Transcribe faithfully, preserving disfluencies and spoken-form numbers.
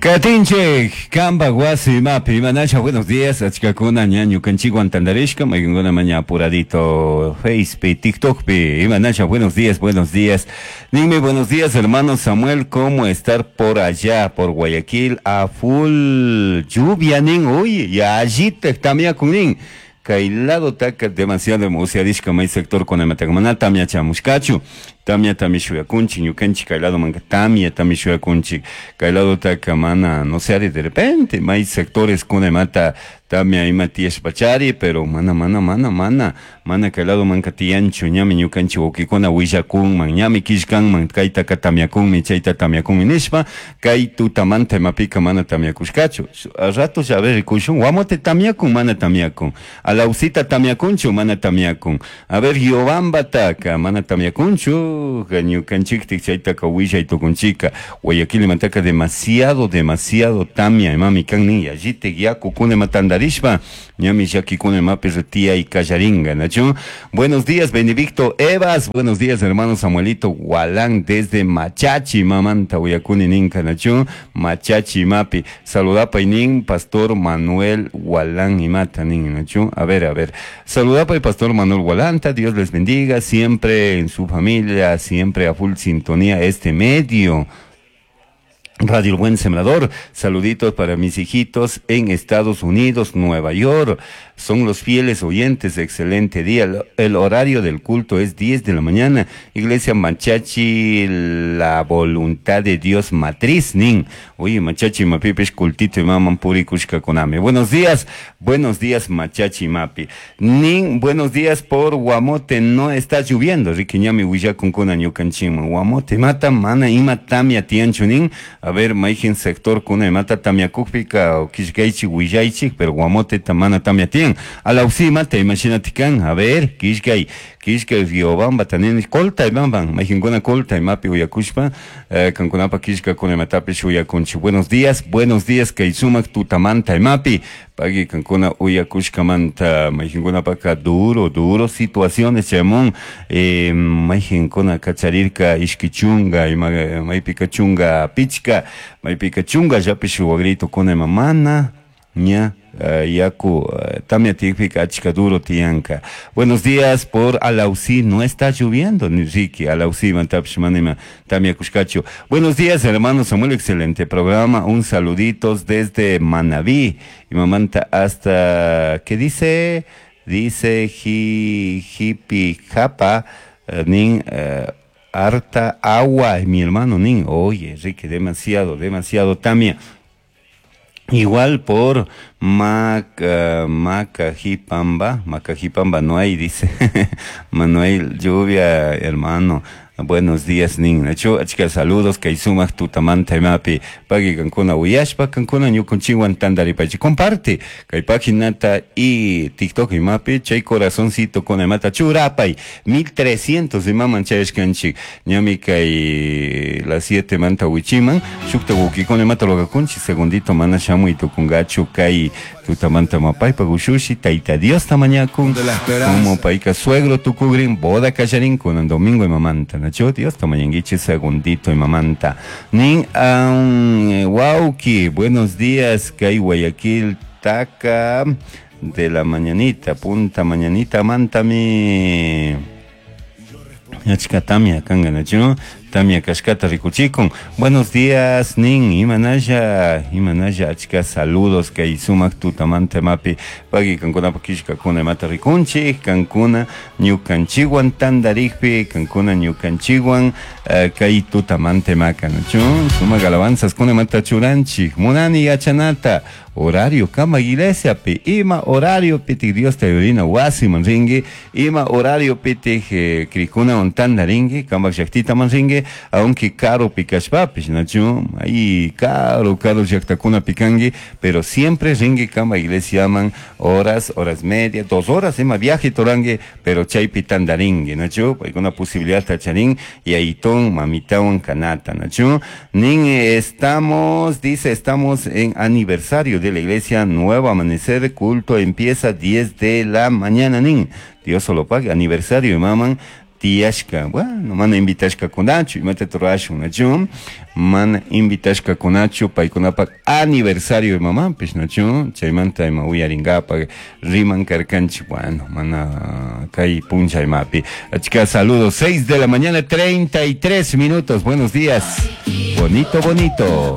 Katinchik, Kamba wasi mapi, manasha, buenos días, achkakuna ñañu kanchikwan tandarishka, maykankuna maña apuradito, Facebook, TikTok pi, imanasha, buenos días, buenos días. Dime, buenos días, hermano Samuel, ¿cómo estar por allá, por Guayaquil, a full lluvia, nin? Uy, ya allí te tamia con nin. Kay lado taka demasiado emocionadishka may sector con el tamia chamushkachu tamia tami shuyakunchik ñukanchik kay lado manka tamia tami shuyakunchik kay lado taka mana no sé de repente may sectores kuna mata tamia ima tiyashpachari, pero mana mana mana mana mana kay lado manka tiyanchu ñami ñukanchik wawkikuna willakunman ñami killkanman kaytaka tamiakunmi chayta tamiakunmi nishpa kay tutamanta imapika mana tamiakushkachu. A rato ya ver rikushun Guamote tamiakun mana tamiakun, Alausita tamiakunchu mana tamiakun, a ver Riobamba taka mana tamiakunchu ñukanchiktik chaytaka willay tukunchika. Guayaquil imantaka demasiado demasiado tamia imami kan nin, yallitik yakukuna ima tandarishpa ñami llakikuna imapi tiyay kallaringa, ¿nachu? Buenos días, Benedicto Evas, buenos días, hermano Samuelito Gualán desde Machachi, mamanta uyakuni ninka, ¿nachu? Machachi mapi, saludapa y nin, pastor Manuel Gualán imata nin, ¿nachu? A ver, a ver, saludapa y pastor Manuel Gualanta, Dios les bendiga, siempre en su familia, siempre a full sintonía este medio. Radio El Buen Sembrador, saluditos para mis hijitos en Estados Unidos, Nueva York. Son los fieles oyentes, excelente día. El, el horario del culto es diez de la mañana. Iglesia Machachi, la voluntad de Dios matriz, nin. Oye, Machachi Mapipesh, cultito y maman purikushka koname. Buenos días, buenos días, Machachi Mapi. Nin, buenos días por Guamote, no está lloviendo. Riquiñami willakunkuna ñukanchikman. Guamote mata, mana ima tamia tianchu, nin. A ver, maijin sector kuna mata tamia kukpika o kishkaichi willaychi, pero Guamote tamana tamia tian. Alausi mata, imagínate kan, a ver, kishkay, kishkay Riobamba tanin, colta ibamban, maijin kuna colta imapi uyakushpa, eh, kankunapa kishka kuna matapish uyakunchi. Buenos días, buenos días, kay sumak tutamanta imapi, pagui kankuna uyakushkamanta, maijin paka duro, duro situaciones, chamón, eh, maijin kuna kacharirka ishkichunga, ima, maipika chunga pichka, maipika chunga yapish wagrito kuna mamana, ña, uh, yaku, uh, tamia tikpika achka duro tiyanka. Buenos días por Alausí, no está lloviendo, ni Ricky, Alausí, mantapish manima, tamia kushkachu. Buenos días, hermano Samuel, excelente programa, un saluditos desde Manabí, y mamanta hasta, ¿qué dice? Dice hi, hipi japa, uh, nin, uh, harta agua, mi hermano nin, oye, Ricky, demasiado, demasiado tamia. Igual por Mac, uh, Macajipamba, Macajipamba no hay, dice Manuel, lluvia, hermano. Buenos días, nin. Nacho, achka saludos, kay sumak tutamanta imapi, pagui kankuna uyashpa, kankuna ñukunchiwan tandaripachi. Comparte, kay paginata y TikTok imapi, chay corazoncito con imata churapay, mil trescientos imaman chayashkanchik, ñami kay las siete manta wichiman, shukta wuki con imata logakunchi, segundito mana shamu y tukungachu kay tutamanta mapay, pagushushi, taita Dios tamañakun, De la esperanza. como paika suegro tukugrin, boda kallarin, con domingo imamanta. Nacho, Dios tamañanguiche segundito y mamanta. Nin, um, wauki, buenos días, kay Guayaquil, taca de la mañanita, punta mañanita, mantami. Achka tamia kanga, nacho, tamia kashkata rikuchikun. Buenos días, nin, imanaya, imanaya, achka saludos kay sumak tutamanta mapi, pagui kankuna pakishka kuna mata rikunchi, kankuna ñukanchiwan tandarikpi, kankuna ñukanchiwan, eh, kay tutamanta maka, nacho, sumak alabanzas kuna mata churanchik, munani yachanata, horario kama iglesia pi, ima horario pitik Dios te ayudina wasi manringi, ima horario pitik, eh, krikuna ontandaringi, kama llaktita manringi, aunque caro pikashpapish, nachu, ahí caro, caro llaktakuna pikangi, pero siempre ringi kama iglesia man, horas, horas media, dos horas, ima viaje torangi, pero chaypi tandaringi, nachu, alguna posibilidad tacharín, y ahí ton mamitawan kanata, nachu, nin estamos, dice, estamos en aniversario de la iglesia Nuevo Amanecer, culto empieza diez de la mañana, nin, Dios solo pague, aniversario, maman, Tiyashka, bueno, mana invitashkakunachu, imata rurashun, nachu? Mana invitashkakunachu paykunapak aniversario imamanpish, nachu? Chaymanta ima uyarinkapak riman karkanchik, bueno, mana kay puncha imapi. Achka saludos, seis de la mañana, treinta y tres minutos, buenos días. Bonito, bonito.